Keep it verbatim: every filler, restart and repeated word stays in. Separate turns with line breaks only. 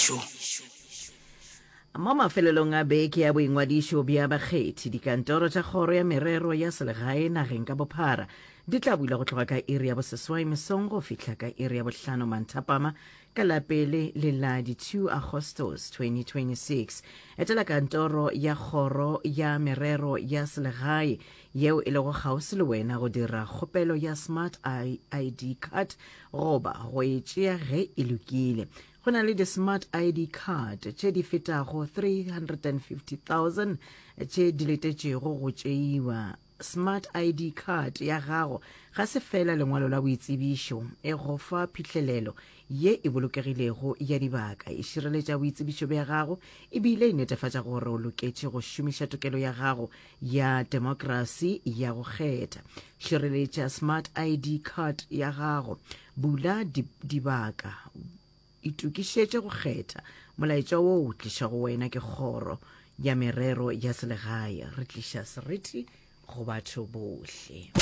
Boingwadišo.
Mo mafelelong a beke ya boingwadišo bja bakgethi, dikantoro tša Kgoro ya Merero ya Selegae nageng ka bophara di tla bula go tloga ka iri ya boseswai mesong go fihla ka iri ya bohlano manthapama ka la pele le la di two Agostose twenty twenty-six. Etela kantoro ya Kgoro ya Merero ya Selegae yeo e lego kgauswi le wena go dira kgopelo ya Smart I D card goba go e tšea ge e lokile. Go na le di-Smart I D card tše di fetago three hundred and fifty thousand tše di letetšego go tšeiwa. Smart I D card ya gago ga se feela lengwalo la boitsebišo, e go fa phihlelelo ye e bolokegilego ya dibaka, e šireletša boitsebišo bja gago e bile e netefatša gore o loketše go šomiša tokelo ya gago ya demokrasi ya go kgetha. Šireletša Smart I D card ya gago, bula dibaka, itokišetše go kgetha. Molaetša wo o tliša go wena ke Kgoro ya Merero ya Selegae. Re tliša seriti go batho bohle.